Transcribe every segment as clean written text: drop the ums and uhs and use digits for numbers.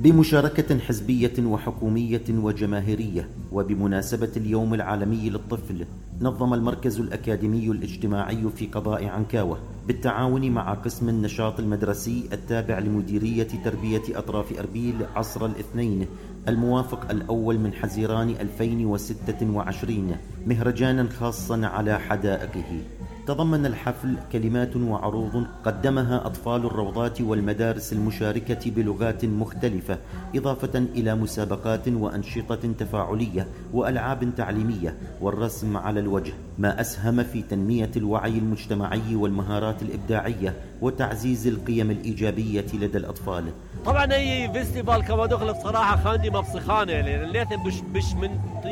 بمشاركة حزبية وحكومية وجماهيرية، وبمناسبة اليوم العالمي للطفل، نظم المركز الأكاديمي الاجتماعي في قضاء عنكاوة بالتعاون مع قسم النشاط المدرسي التابع لمديرية تربية أطراف أربيل عصر الاثنين الموافق الأول من حزيران 2026 مهرجانا خاصا على حدائقه. تضمن الحفل كلمات وعروض قدمها أطفال الروضات والمدارس المشاركة بلغات مختلفة، إضافة إلى مسابقات وأنشطة تفاعلية وألعاب تعليمية والرسم على الوجه، ما أسهم في تنمية الوعي المجتمعي والمهارات الإبداعية وتعزيز القيم الإيجابية لدى الأطفال. طبعا هي فيستيفال كما دخل بصراحة خاندي مبصخانة لأن ليثن بش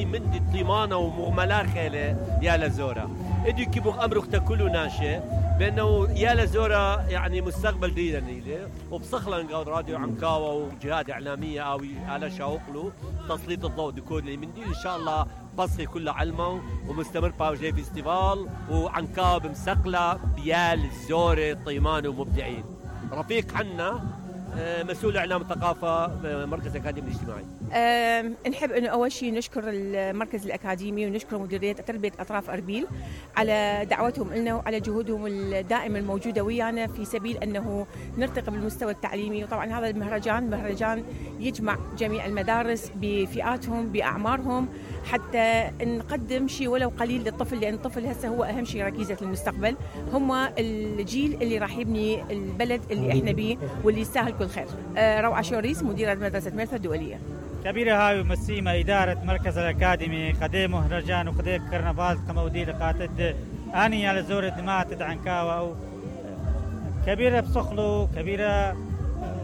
من دي طيمانة ومغملا خيلة يا لزورة ادي كيبوخ أمرك تاكلوا ناشي بأنه يا لزورة يعني مستقبل دينا نيلي وبصخلن قاود راديو عنكاوة وجهات إعلامية أو على شاوقلو تسليط الضوء ديكود اللي من دي إن شاء الله بصخي كلها علمه ومستمر باوجي فيستيفال وعنكاوة بمسقلة بيال الزورة طيمان ومبدعين. رفيق حنا مسؤول إعلام الثقافة مركز الأكاديمي الاجتماعي. نحب أنه أول شيء نشكر المركز الأكاديمي ونشكر مديرية تربية أطراف أربيل على دعوتهم لنا وعلى جهودهم الدائمة الموجودة ويانا في سبيل أنه نرتقي بالمستوى التعليمي. وطبعا هذا مهرجان يجمع جميع المدارس بفئاتهم بأعمارهم حتى نقدم شيء ولو قليل للطفل، لأن الطفل هسه هو أهم شيء ركيزة المستقبل، هم الجيل اللي راح يبني البلد اللي احنا بيه واللي يستاهل كل خير. روعة شوريس مديرة مدرسة ميرثا الدولية. كبيرة هاي مسيمة إدارة مركز الأكاديمي قديم مهرجان وقديم كرنفال كمودي لقاتد أني على زور الدماء عنكاوة كبيرة بصخلو كبيرة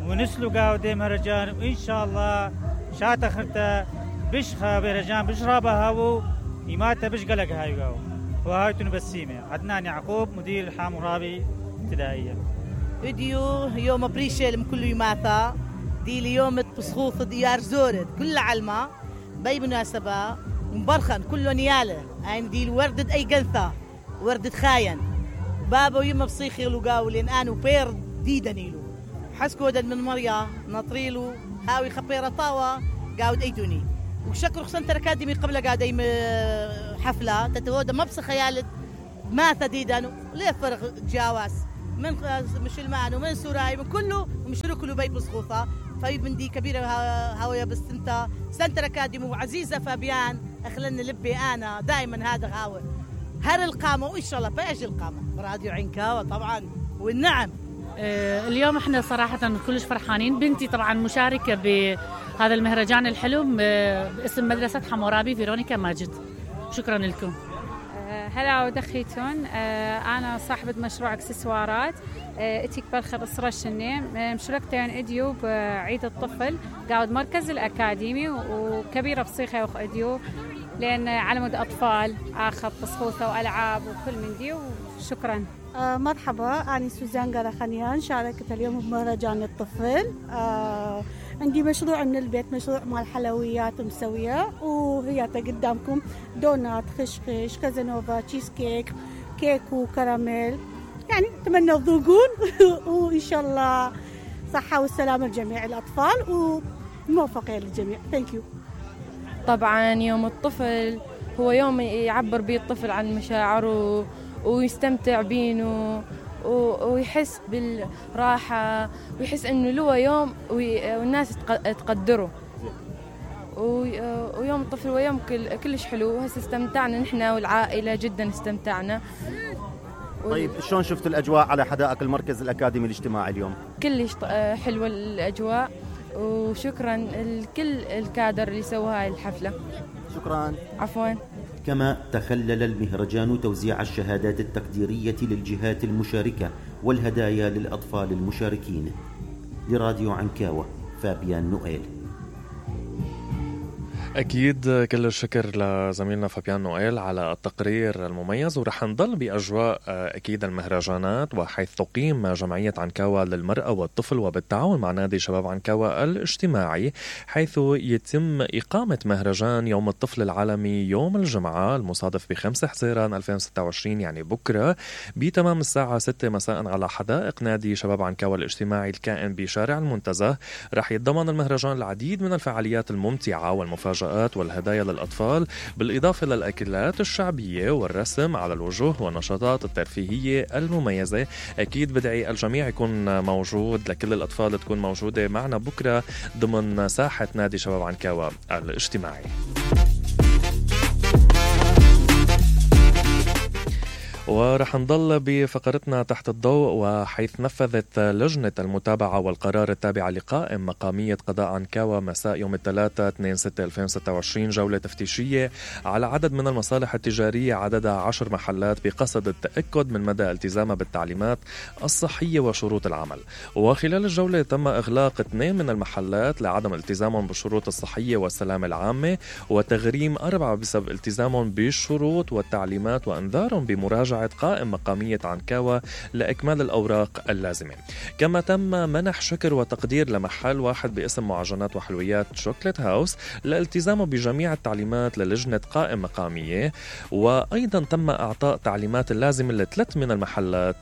ونسلو قاودي مهرجان وإن شاء الله شات أخرته بشخة مهرجان بشرابها هاو إماتة بشقلق هاي قاو وهاي تنبسيمة. عدنان يعقوب مدير الحامورابي ابتدائية. فيديو يوم بريشل كله يماثا دي اليوم بصخوث ديار زورد كل علمة باي مناسبة مبرخن كله نيالة يعني دي الوردة أي قنثة وردة خاين بابا ويما بصيخي لقاو لين أنا وبير دي دنيلو حسكو دد من مريا نطريلو هاوي خبيرة طاوة قاود أيتوني وشكر خصن تركاديمي قبل قاعد أي حفلة تتودا ما بص خيالة ما تديدانو ليه فرق جاواز من مش المعنى ومن سوراي من كله ومشرو كله بيت بصخوثة فايد من دي كبيرة هاوية بس انت سنتر أكاديمي وعزيزة فابيان أخلنا لبي أنا دائما هذا هاوي هر القامة وإن شاء الله بأجي القامة راديو عنكاوة طبعا والنعم. اليوم احنا صراحة كلش فرحانين. بنتي طبعا مشاركة بهذا المهرجان الحلو باسم مدرسة حمورابي فيرونيكا ماجد. شكرا لكم. هلا ودخيتون. أنا صاحبة مشروع اكسسوارات اتيك بالخر إصرار الشني مشاركتين اديو بعيد الطفل قاعد مركز الأكاديمي وكبيرة بصيخة وخ اديو لأن على مود أطفال آخذ بصخوثة وألعاب وكل من دي. وشكرا. مرحبا أنا سوزان قرخانيان شاركت اليوم بمهرجان الطفل. عندي مشروع من البيت مشروع مال حلويات مسوية وهي قدامكم دونات خشخش كازانوفا تشيز كيك وكراميل يعني أتمنى تذوقون وإن شاء الله صحة والسلامة لجميع الأطفال وموفقة للجميع. ثانك يو. طبعا يوم الطفل هو يوم يعبر به الطفل عن مشاعره ويستمتع بينه ويحس بالراحة ويحس إنه له يوم والناس تقدره. ويوم الطفل ويوم كلش حلو وهسه استمتعنا نحن والعائلة جدا استمتعنا. طيب شلون شفت الأجواء على حدائق المركز الأكاديمي الاجتماعي اليوم؟ كلش حلوة الأجواء وشكرا لكل الكادر اللي سوى هاي الحفلة. شكرا. عفوا. كما تخلل المهرجان توزيع الشهادات التقديرية للجهات المشاركة والهدايا للأطفال المشاركين. لراديو عنكاوة فابيان نوئيل. أكيد كل الشكر لزميلنا فابيان نويل على التقرير المميز، ورح نضل بأجواء أكيد المهرجانات، وحيث تقيم جمعية عنكاوة للمرأة والطفل وبالتعاون مع نادي شباب عنكاوة الاجتماعي، حيث يتم إقامة مهرجان يوم الطفل العالمي يوم الجمعة المصادف ب5 حزيران 2026 يعني بكرة بتمام الساعة 6 مساء على حدائق نادي شباب عنكاوة الاجتماعي الكائن بشارع المنتزه. رح يتضمن المهرجان العديد من الفعاليات الممتعة والمفاجآت والهدايا للأطفال، بالإضافة للأكلات الشعبية والرسم على الوجوه والنشاطات الترفيهية المميزة. أكيد بدعي الجميع يكون موجود، لكل الأطفال تكون موجودة معنا بكرة ضمن ساحة نادي شباب عنكاوة الاجتماعي. ورح نضل بفقرتنا تحت الضوء، وحيث نفذت لجنة المتابعة والقرار التابعة لقائم مقامية قضاء عنكاوة مساء يوم الثلاثاء 2/6/2026 جولة تفتيشية على عدد من المصالح التجارية عددها 10 محلات بقصد التأكد من مدى التزامها بالتعليمات الصحية وشروط العمل. وخلال الجولة تم إغلاق 2 من المحلات لعدم التزامهم بالشروط الصحية والسلامة العامة، وتغريم 4 بسبب التزامهم بالشروط والتعليمات، وأنذارهم بمراجعة قائم مقامية عنكاوة لإكمال الأوراق اللازمة. كما تم منح شكر وتقدير لمحل واحد باسم معجنات وحلويات شوكليت هاوس لالتزامه بجميع التعليمات للجنة قائم مقامية، وأيضا تم إعطاء تعليمات اللازمة ل3 من المحلات